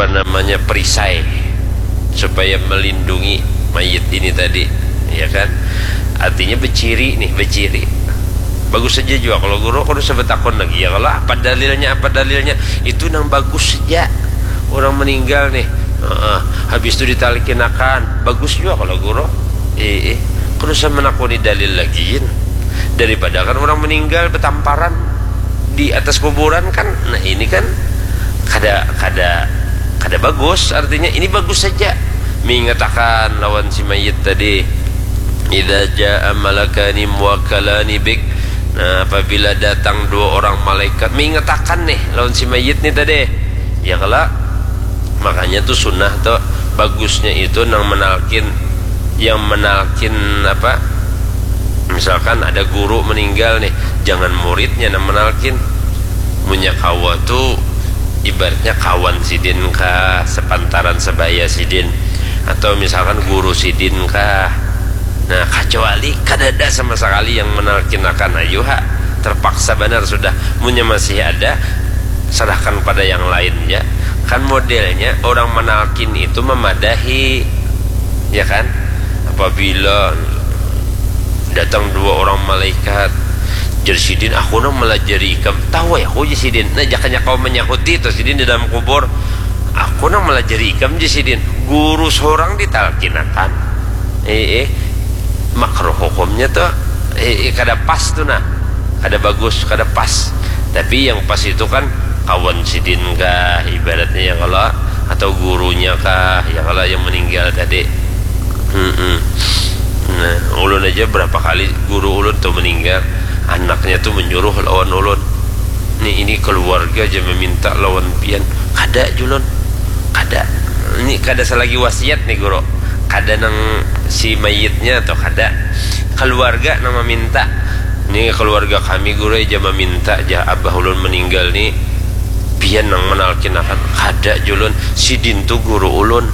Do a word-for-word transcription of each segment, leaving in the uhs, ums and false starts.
apa namanya, perisai supaya melindungi mayit ini tadi, ya kan? Artinya beciri nih, beciri. Bagus saja juga kalau guru, aku usah betakon lagi ya, kalau apa dalilnya, apa dalilnya, itu nang bagus saja. Orang meninggal nih, heeh, habis itu ditalkinakan, bagus juga kalau guru. Eh, eh. Kalau usah menakuni dalil lagi, daripada kan orang meninggal betamparan di atas kuburan kan. Nah, ini kan kada kada kada bagus. Artinya ini bagus saja mengatakan lawan si mayit tadi, idza jaa malakani muwakkalani bik. Nah, apabila datang dua orang malaikat mengatakan nih lawan si mayit nih tadi, ya kalau makanya tuh sunnah tuh bagusnya itu nang menalkin, yang menalkin apa, misalkan ada guru meninggal nih, jangan muridnya nang menalkin. Munnya kawa tuh ibaratnya kawan sidin kah, sepantaran sebaya sidin, atau misalkan guru sidin kah. Nah, kecuali kadada sama sekali yang menalkinakan, ayu ha, terpaksa benar sudah. Munnya masih ada, serahkan pada yang lain ya. Kan modelnya orang menalkin itu memadahi, ya kan? Apabila datang dua orang malaikat, jar sidin, aku nang melajari ikam. Tahu ya aku, jar sidin. Nah, jakanya kau menyahuti itu sidin di dalam kubur, aku nang melajari ikam, jar sidin. Guru seorang ditalkinakan, eh, eh, makruh hukumnya tuh, eh, eh, kada pas tuh nah, kada bagus, kada pas. Tapi yang pas itu kan kawan sidin kah ibaratnya, ya kalau, atau gurunya kah, ya kalau, yang meninggal tadi. Mm-mm. Nah, ulun aja berapa kali guru ulun tuh meninggal, anaknya tuh menyuruh lawan ulun, nih, ini keluarga aja meminta lawan pian, kada julun, kada. Ini kada selagi wasiat nih guru, kada nang si mayitnya atau kada, keluarga nang meminta. Nih, keluarga kami guru aja meminta, jah abah ulun meninggal nih, pian nang menalkinakan. Kada julun, sidin tu guru ulun,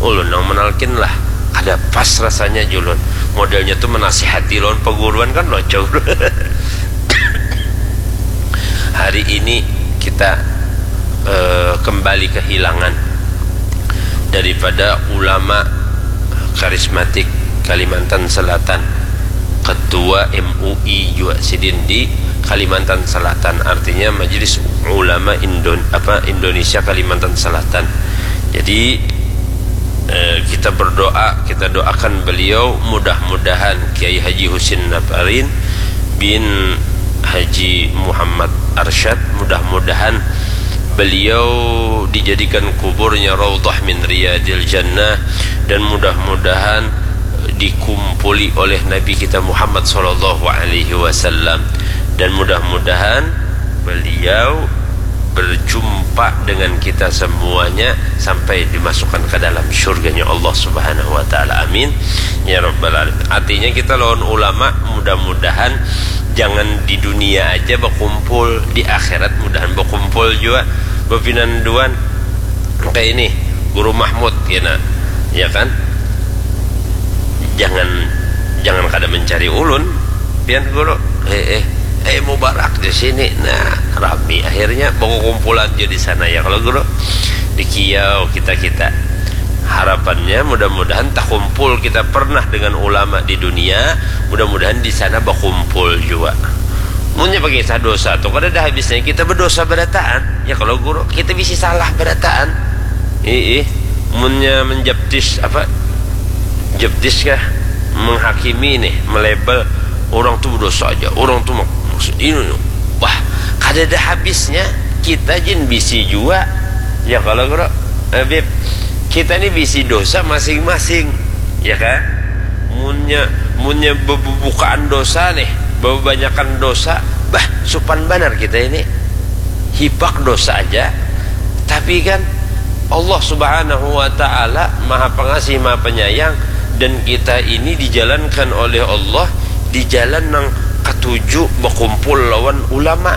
ulun nang menalkin lah. Kada pas rasanya julun, modelnya tu menasihati lawan paguruan kan lucu. Hari ini kita eh, kembali kehilangan daripada ulama karismatik Kalimantan Selatan, ketua M U I juga sidin di Kalimantan Selatan, artinya Majelis Ulama Indon apa Indonesia Kalimantan Selatan. Jadi eh, kita berdoa, kita doakan beliau, mudah-mudahan Kiai Haji Husin Nabarin bin Haji Muhammad Arsyad, mudah-mudahan beliau dijadikan kuburnya raudhah min riyadil jannah, dan mudah-mudahan dikumpuli oleh Nabi kita Muhammad sallallahu alaihi wasallam, dan mudah-mudahan beliau berjumpa dengan kita semuanya sampai dimasukkan ke dalam surganya Allah Subhanahu wa taala. Amin ya rabbal alamin. Artinya kita lawan ulama mudah-mudahan jangan di dunia aja berkumpul, di akhirat mudahan berkumpul juga, bepinanduan kayak ini, Guru Mahmud kena, ya kan? Jangan jangan kada mencari ulun, pian guru. Eh eh eh Mubarak di sini. Nah, rami akhirnya berkumpulan je di sana ya kalau guru. Di kiau kita kita. Harapannya mudah-mudahan takumpul kita pernah dengan ulama di dunia, mudah-mudahan di sana berkumpul juga. Munnya pakai kisah dosa tu kada ada habisnya, kita berdosa berataan ya kalau guru, kita bisa salah berataan. Ih, ih. Munnya menjaptis apa, jeptis kah, menghakimi nih, melabel orang tu berdosa aja, orang tu mak- ini nih. Wah, kada ada habisnya. Kita jin bisi jua ya kalau guru. Eh, Bib, kita ni bisi dosa masing-masing, ya kan? Munnya munnya bebukaan dosa nih, bebanyakan dosa, bah, supan banar kita ini, hipak dosa aja. Tapi kan Allah Subhanahu wa Ta'ala Maha Pengasih, Maha Penyayang, dan kita ini dijalankan oleh Allah di jalan nang katuju, berkumpul lawan ulama.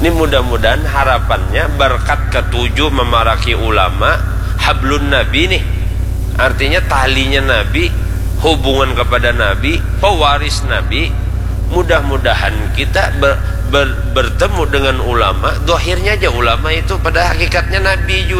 Ini mudah-mudahan harapannya berkat katuju memaraki ulama, hablun Nabi nih. Artinya talinya Nabi, hubungan kepada Nabi, pewaris Nabi. Mudah-mudahan kita ber, ber, bertemu dengan ulama, dohirnya aja ulama itu, pada hakikatnya Nabi juga.